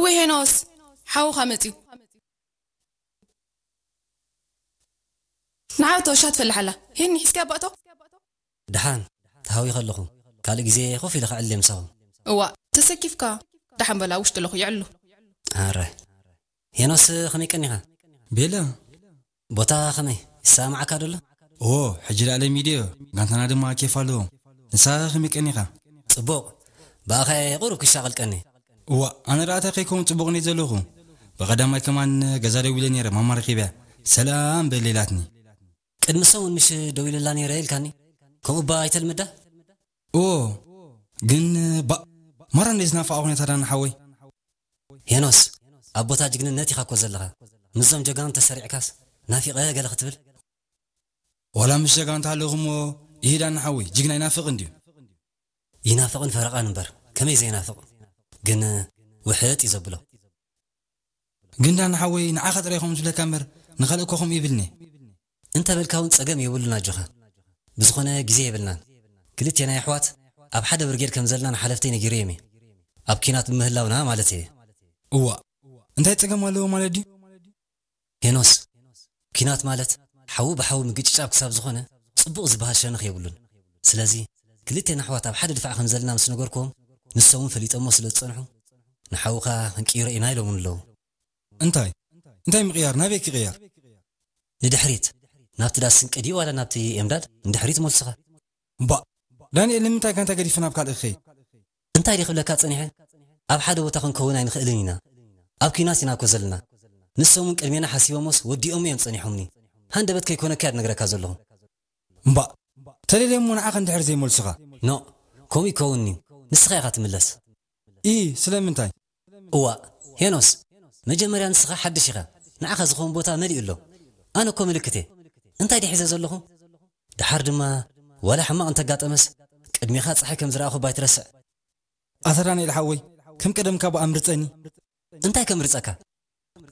ወይ ሄኖስ፣ ሓውኻ መጺኡ። ንዓቶ ሻት ፈልሓላ። ሄኒ፣ ሒዝካ ኣባእቶ? ደሓን፣ ተሃዊኸ ኣለኹ። ካልእ ግዜ ኮፍ ኢለ ክዕሊ ምሳኹም። እዋ፣ ተሰኪፍካ። ደሓን በላ፣ ውሽጢ ኣለኹ፣ ይዕሉ። ኣረ። ሄኖስ፣ ከመይ ቀኒኻ? ቤላ። ቦታ ከመይ? ይሰማዓካ ደሎ? ኦ፣ ሕጂ ደኣ ለሚድዮ። ጋንታና ድማ ኬፍ ኣለዎም። ንስኻ ከመይ ቀኒኻ? ጽቡቕ። ብኣኻ እየ ቁሩብ ክሻቐል ቀኒ። እዋ፣ ኣነ ደኣ እንታይ ከይከውን ጽቡቕ ነይ ዘለኹ። ብቐዳማይ ከማን ገዛ ደዊለ ነይረ፣ ማማ ረኺበያ። ሰላም በል ኢላትኒ። ቅድሚ ሰሙን ምሽ ደዊለላ ነይረ ኢልካኒ? ከምኡ እባ ኣይተልምዳ? እዎ፣ ግን ባ-፣ ማራ እንደ ዝናፍቓ ኩነታ ዳና ሓወይ። ሄኖስ፣ ኣብ ቦታ ጅግንነት ኢኻ እኮ ዘለኻ። ምስዞም ጀጋኑ ተሰሪዕካስ፣ ናፊቐ ገለ ክትብል? ዋላ ምስ ጀጋኑ ተሃለኹ እሞ፣ ይሂ ዳና ሓወይ፣ ጅግና ይናፍቕ እንድዩ። ይናፍቕን ፈረቓን እምበር፣ ከመይ ዘይናፍቕ? ግን ውሕጥ እዩ ዘብሎ። ግን ዳና ሓወይ፣ ንዓኻ ጥራይ ከምኡ ዝብለካ እምበር፣ ንኻልእ እኮ ከምኡ ይብልኒ። እንተ በልካ እውን ጸገም የብሉን ኣጆኻ። ብዝኾነ ግዜ የብልናን። ክልቴና ኣሕዋት ኣብ ሓደ ብርጌድ ከም ዘለና ንሓለፍተይ ነጊረዮም እየ። ኣብ ኲናት ብምህላውና ማለት እየ። እዋ፣ እንታይ ጸገም ኣለዎ ማለት ድዩ? ሄኖስ፣ ኲናት ማለት ሓዊ ብሓዊ ምግጭጫብ ክሳብ ዝኾነ ጽቡቕ ዝበሃል ሸነኽ የብሉን። ስለዚ ክልቴና ኣሕዋት ኣብ ሓደ ድፋዕ ከም ዘለና ምስ ነገርኩዎም፣ ንሶም እውን ፈሊጦሞ ስለ ዝጸንሑ፣ ንሓውኻ ክንቅይሮ ኢና ኢሎምኒ ኣለዉ። እንታይ? እንታይ ምቕያር? ናበይ ክቕየር? ንድሕሪት። ናብቲ ዳስ ስንቂ ድዩ ዋላ ናብቲ ኤምዳድ ንድሕሪት መልስኻ። እምባእ፣ ዳንኤል፣ ንምንታይ ጋንታ ገዲፈ ናብ ካልእ ክኸይድ? እንታይ ድየ ክብለካ ጸኒሐ? ኣብ ሓደ ቦታ ክንከውን ኣይንኽእልን ኢና። ኣብ ኲናት ኢና እኮ ዘለና። ንሶም እውን ቅድሜና ሓሲቦሞስ ወዲኦም እዮም ጸኒሖምኒ። ሃንደበት ከይኮነካ እየ ዝነግረካ ዘለኹ። እምባእ፣ ተደልየ እሞ ንዓኻ እንድሕር ዘይመልሱኻ? ኖእ፣ ከምኡ ይከውንኒ። ንስኻ ኢኻ ትምለስ። ኢ፣ ስለምንታይ? እዋእ፣ ሄኖስ፣ መጀመርያ ንስኻ ሓድሽ ኢኻ። ንዓኻ ዝኸውን ቦታ መሊኡ ኣሎ። ኣነ እኮ ምልክት እየ። እንታይ ድየ ሒዘ ዘለኹ? ደሓር ድማ፣ ዋላ ሕማቕ እንተጋጠመስ፣ ቅድሜኻ ጸሓይ ከም ዝረኣኹ ባይትረስዕ። ኣታ ዳንኤል ሓወይ፣ ከም ቀደምካ ብኣ ምርጸኒ። እንታይ ከምርጸካ?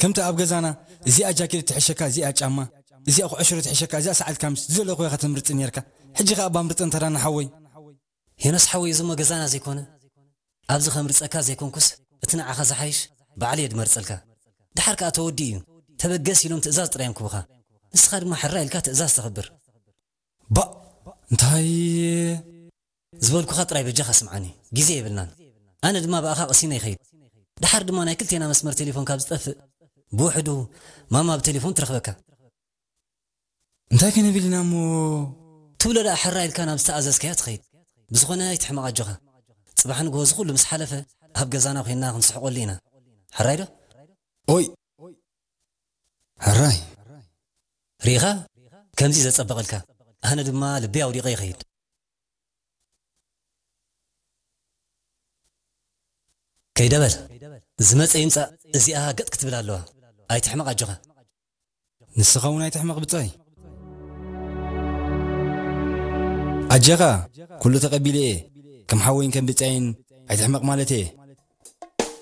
ከምቲ ኣብ ገዛና፣ እዚኣ ጃኬት ትሕሸካ፣ እዚኣ ጫማ፣ እዚኣ ኩዕሽሮ ትሕሸካ፣ እዚኣ ሰዓል ካምስ፣ ዝደለኹ ኢኻ ተምርጽ ነርካ። ሕጂ ኸኣ እባ ምርጸን ተራና ሓወይ። ሄኖስ ሓወይ፣ እዚ እሞ ገዛና ዘይኮነ፣ ኣብዚ ከምርጸካ ዘይኮንኩስ፣ እቲ ንዓኻ ዝሓይሽ ባዕለይ እየ ድመርጸልካ። ደሓር ከኣ ተወዲኡ እዩ። ተበገስ ኢሎም ትእዛዝ ጥራይ እዮም ክቡኻ። ንስኻ ድማ ሕራይ ኢልካ ትእዛዝ ተኽብር። ባእ፣ እንታይ? ዝበልኩኻ ጥራይ በጃኻ ስምዓኒ። ግዜ የብልናን። ኣነ ድማ ብኣኻ ቀሲነ ይኸይድ። ደሓር ድማ ናይ ክልቴና መስመር ቴሌፎን ካብ ዝጠፍእ፣ ብውሕዱ ማማ ብቴሌፎን ትረኽበካ። እንታይ ክንብል ኢና እሞ? ትብሎ ደኣ ሕራይ ኢልካ ናብ ዝተኣዘዝካዮ ትኸይድ። ብዝኾነ ኣይትሕመቕ ኣጆኻ። ጽባሕ ንግሆ እዚ ኩሉ ምስ ሓለፈ፣ ኣብ ገዛና ኮይንና ክንስሕቐሉ ኢና። ሕራይ ዶ? ኦይ! ሕራይ! ርኢኻ? ከምዚ ዘጸበቐልካ። ኣነ ድማ ልበይ ኣውዲቐ ይኸይድ። ከይደ በል። ዝመጸ ይምጻእ፣ እዚኣ ገጥ ክትብል ኣለዋ። ኣይትሕመቕ ኣጆኻ። ንስኻ እውን ኣይትሕመቕ ብጻይ። ኣጀኻ፣ ኩሉ ተቐቢለ እየ። ከም ሓወይን ከም ብጻይን ኣይትሕመቕ ማለት እየ።